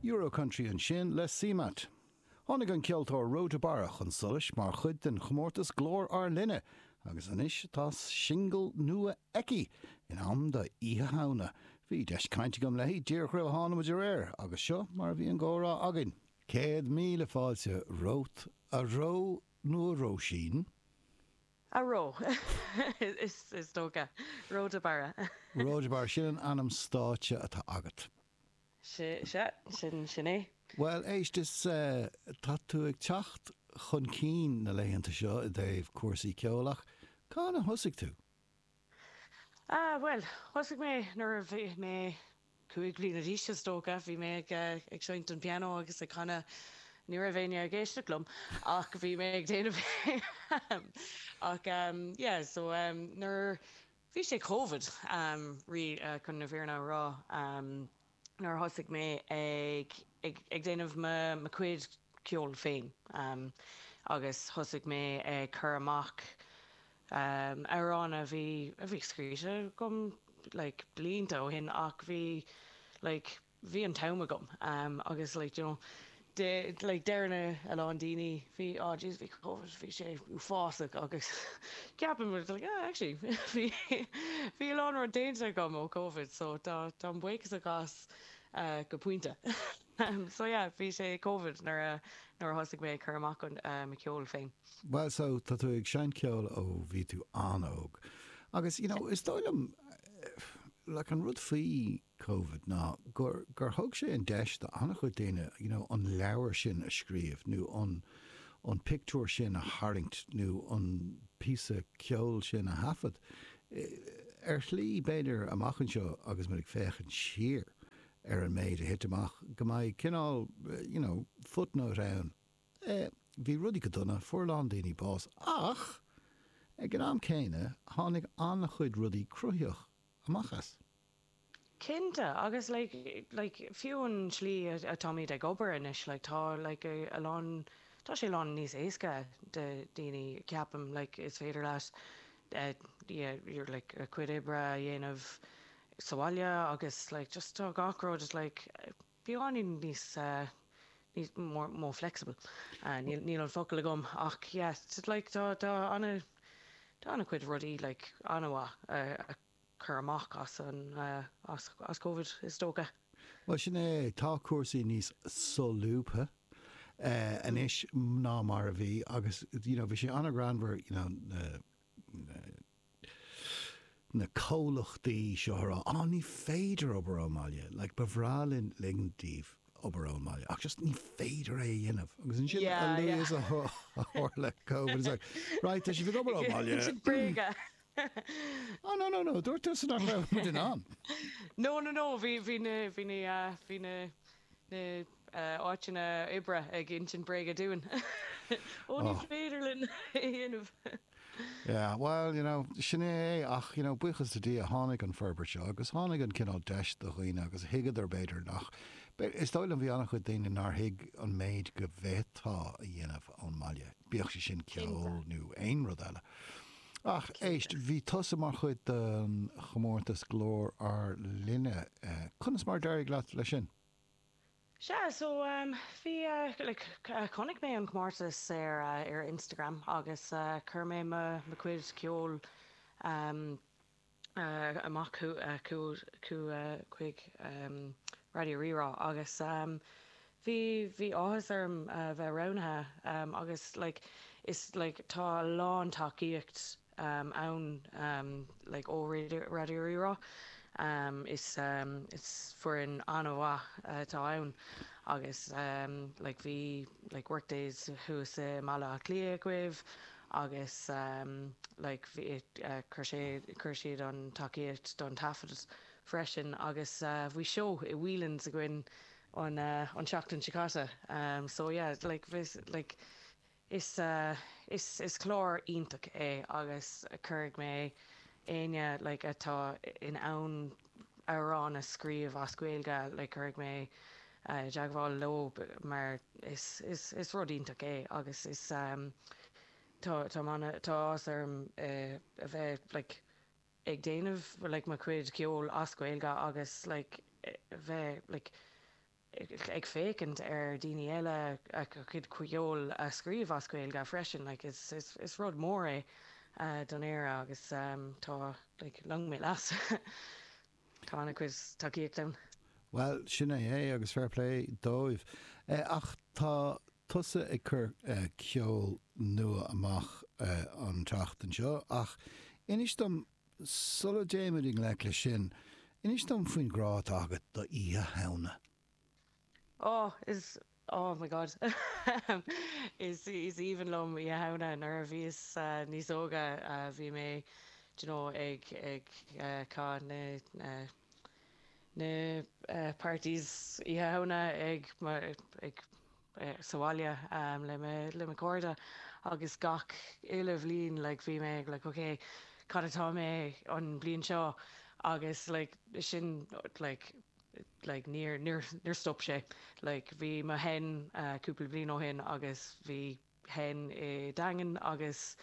Euro Country ansin le CMAT. Tháinig an ceoltóir Ro de Barra chun solais mar chuid den chomórtas Glór ár Linne agus anois tá singil nua aici, in am do Oíche Shamhna. Bhí deis cainte agam léi díreach roimh a tháinig muid ar aer agus seo mar a bhí an gcomhrá againn. 100,000 fáilte romhat, a Ró nó a Róisín? A Ró, is dócha. Ró de Barra. Ró de Barra, sin an ainm stáitse atá agat. Sea, sin, sin é. Bhuel, éist, is tá tú ag teacht chun cinn na laethanta seo i dtaobh cúrsaí ceoil ach cathain a thosaigh tú? Ah, bhuel, thosaigh mé nuair a bhí mé 5 bliana d'aois, is dócha. Bhí mé ag, ag seinnt an pianó agus ag canadh. Ní raibh éinne ag éisteacht liom ach bhí mé ag déanamh é. Ach, yeah, so nuair, bhí sé Covid, chun na fírinne a rá, nuair a thosaigh mé ag, ag, ag déanamh mo, mo chuid ceoil féin agus thosaigh mé ag cur amach amhráin a bhí, a bhí scríte agam like blianta ó shin ach bhí like bhí an t-am agam agus like you know de like deireann a lán daoine bhí oh jeez bhí Covid bhí sé uafásach agus ceapaim like ah actually bhí bhí a lán rud déanta agam ó Covid so tá táim buíochasach as go pointe. So yeah, bhí sé Covid nuair a nuair a thosaigh mé ag cur amach an mo cheol féin. Bhuel so tá tú ag seinnt ceoil ó bhí tú an-óg agus you know is dóigh liom like an rud faoi Covid ná gur gur thug sé an deis do an-chuid daoine you know an leabhar sin a scríobh nó an an pictiúr sin a tharraingt nó an píosa ceoil sin a thaifead. Ar shlí b'fhéidir amach anseo agus muid ag féachaint siar ar an méid a thit amach, go mbeidh cineál, you know, footnote ann. Eh, bhí rudaí go dona, fuair a lán daoine bás, ach ag an am céanna, tháinig an-chuid rudaí cruthaitheach amach as. Cinnte, agus like, like, fiú an tslí atáimid ag obair anois, like, tá, like, a lán, tá sé a lán níos éasca do daoine, ceapaim, like, is féidir leat, eh, yeah, your, like, a cuid oibre a dhéanamh sa bhaile agus like just tá gach rud like beagáinín níos níos more more flexible. Níl níl an focal agam ach yeah like tá tá ana tá ana chuid rudaí like ana-mhaith a chur amach as an as as Covid is dócha. Bhuel sin é, tá cúrsaí níos solúbtha anois ná mar a bhí agus you know bhí sé ana-ghreannmhar you know na na na comhlachtaí seo a rá, á, ní féidir obair ón mbaile, like, ba bhreá linn ligean daoibh obair ón mbaile, ach just ní féidir é a dhéanamh. Agus ansin, a luaithe is a tharla Covid, it's like, right, tá sibh ag obair ón mbaile. Sin bréaga. Oh, no, no, no, dúirt tusa nach raibh muid in ann. No, no, no, bhí, bhí na, bhí na, bhí na, na áiteanna oibre ag insint bréaga dúinn. Ó, ní féidir linn é a dhéanamh. Yeah, well, you know, sin é é ach, you know, buíochas le Dia, tháinig an forbairt seo agus tháinig an cineál deis do dhaoine agus thuigeadar b'fhéidir nach, is dóigh liom bhí an-chuid daoine nár thuig an méid go bhféadfá a dhéanamh ón mbaile, bíodh sé sin ceol nó aon rud eile. Ach éist, bhí tusa mar chuid den chomórtas Glór ár Linne, conas mar a d'éirigh leat leis sin? Sea, so bhí, like, chonaic mé an comórtas ar ar Instagram agus chuir mé mo mo chuid ceoil amach chuig Raidió Rí-Rá agus bhí bhí áthas orm bheith roghnaithe agus like is like tá a lán tacaíocht ann like ó Raidió Rí-Rá. Is is foireann an-mhaith atá ann agus like bhí like Workdays thuas i mBaile Átha Cliath agaibh agus like bhí chuir sé chuir siad an tacaíocht don taifead freisin agus bhí seó i Whelan's againn an an tseachtain seo caite so yeah like bhí like Is is clár iontach é agus cuirfidh mé éinne like atá in ann amhrán a scríobh as Gaeilge like cuirfidh mé i dteagmháil leo mar is is is rud iontach é agus is tá tá tá áthas orm a bheith like ag déanamh like mo chuid ceoil as Gaeilge agus like bheith like. ag féachaint ar daoine eile a gcuid ceoil a scríobh as Gaeilge freisin like is is is rud mór é don Éire agus tá like long may it last tá an-chuid tacaíocht ann. Bhuel sin é é agus fair play dóibh. Ach tá tusa ag cur ceol nua amach an tseachtain seo ach inis dom Sula dtéimid i ngleic leis sin, inis dom faoin ghrá atá agat do Oíche Shamhna. Oh, is, oh my God. Is, is aoibhinn liom Oíche Shamhna. Nuair a bhíos níos óga bhí mé, do you know, ag, ag caitheamh na, na parties Oíche Shamhna ag, ag, sa bhaile le mo le mo chairde agus gach uile bhliain like bhí mé ag like ok cad atá mé an bliain seo agus like sin like like níor níor níor stop sé like bhí mo hen cúpla bliain ó shin agus bhí hen i Daingean agus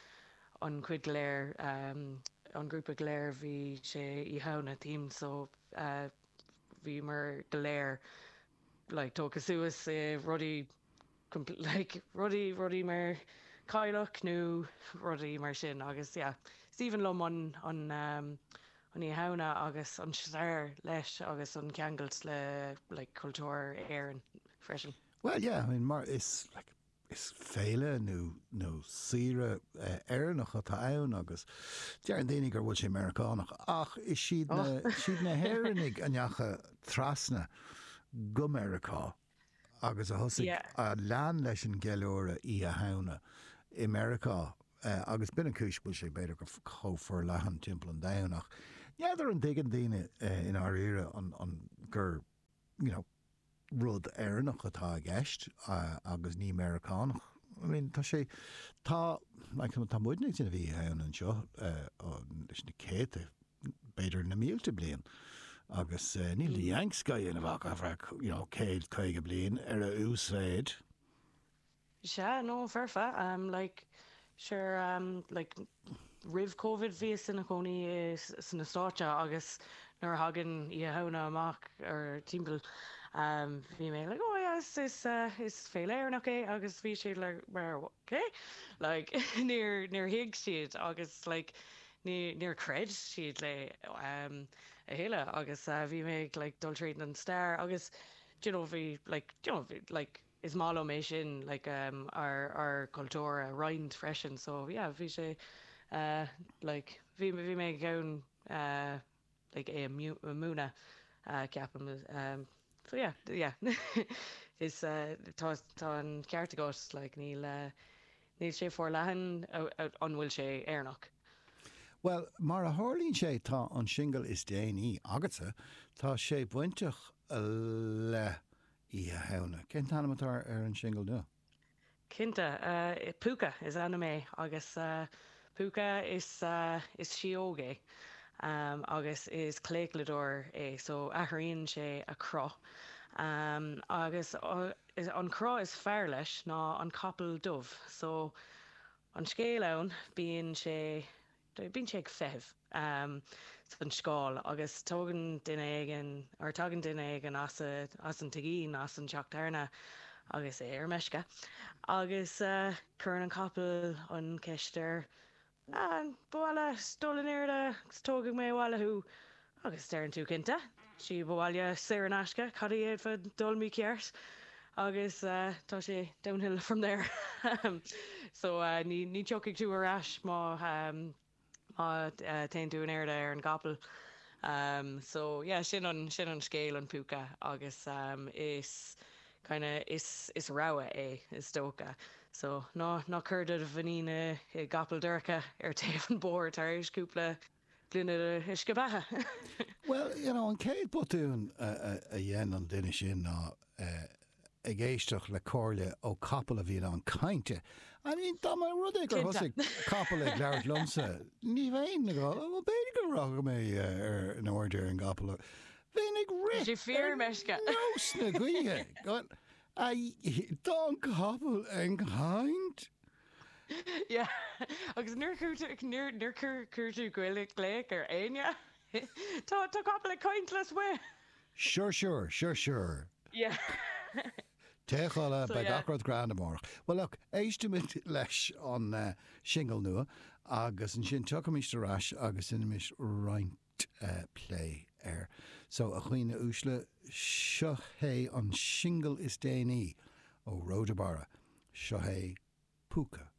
an cuid go léir an grúpa go léir bhí sé Oíche Shamhna themed so bhíomar go léir like tógtha suas i rudaí like rudaí rudaí mar cailleach nó rudaí mar sin agus yeah is aoibhinn liom an an an Oíche Shamhna agus an stair leis agus an ceangailt le like cultúr Éireann freisin. Well yeah I mean mar is like Is féile nó nó saoire Éireannach atá ann agus deireann daoine gur bhfuil sé Meiriceánach ach is iad na is iad na hÉireannaigh a ndeachaigh trasna go Meiriceá agus a thosaigh a lean leis an gceiliúradh Oíche Shamhna i Meiriceá agus b'in an cúis go bhfuil sé b'fhéidir go chomh forleathan timpeall an domhain ach n'fheadar an dtuigeann daoine i ndáiríre an an gur you know rud Éireannach atá i gceist agus ní Meiriceánach. I mean, tá sé, tá, like, tá muidne ag déanamh Oíche Shamhna anseo leis na céadta, b'fhéidir na mílte bliain agus níl na Yanks á dhéanamh ach ar feadh, you know, 150 bliain ar a uasmhéid. Sea, no, foirfe. Like, sure, like, roimh Covid bhíos ina chónaí sna Stáit agus nuair a thagann Oíche Shamhna amach or timpeall, bhí mé like, oh yeah, is, is, is féile Éireannach é agus bhí siad like, mar, okay? Like, níor, níor thuig siad agus like, ní, níor chreid siad le a thuilleadh agus bhí mé ag like dul tríd an stair agus, do you know, bhí like, do you know, bhí like, is maith liom é sin like ár ár cultúr a roinnt freisin so yeah bhí sé like bhí bhí mé ag ann like é a múineadh ceapaim so yeah yeah is tá tá an ceart agat like níl níl sé forleathan an bhfuil sé Éireannach. Bhuel, mar a tharlaíonn sé tá an singil is déanaí agatsa, tá sé bainteach le Oíche Shamhna. Cén t-ainm atá ar an singil nua? Cinnte, Púca is ainm é agus Púca is is síóg é agus is claochlódóir é so athraíonn sé a chruth agus an cruth is fearr leis ná an capall dubh so an scéal ann bíonn sé Bíonn sé ag feitheamh san scáil agus tógann duine éigin, or tagann duine éigin as as an tigín, as an teach tábhairne agus é ar meisce agus cuireann an capall an ceist air, An ba mhaith leat dul in airde agus tógfaidh mé abhaile thú? Agus deireann tú cinnte, síob abhaile saor in aisce, cad a d'fhéadfadh dul mícheart? Agus tá sé downhill from there. So ní ní tiocfaidh tú ar ais má má téann tú in airde ar an gcapall. So yeah, sin an sin an scéal an púca agus is kinda is is rabhadh é is dócha. So ná ná cuir do mhuinín i i gcapall dorcha ar taobh an bhóthair tar éis cúpla gloine de uisce beatha. Bhuel, you know, an chéad botún a dhein an duine sin ná ag éisteacht le comhairle ó capall a bhí in ann cainte. I mean, dá mba rud é gur thosaigh capall ag labhairt liomsa, ní bheinn ag dul, well, b'fhéidir go rachaidh mé ar in airde ar an gcapall. Bheinn ag rith ar nós na gaoithe. Tá an capall ag caint. Yeah, agus níor chuir tú, níor, níor chuir, chuir tú glaoch ar éinne? Tá, tá capall ag caint lasmuigh! Sure, sure, sure, sure. Yeah. Téigh a chodladh, beidh gach rud grand amárach. Well look, éistimid leis an singil nua agus ansin tiocfaimis ar ais agus déanfaimis roinnt plé air. So, a dhaoine uaisle, seo é an singil is déanaí ó Rhoda Barra. Seo é Púca.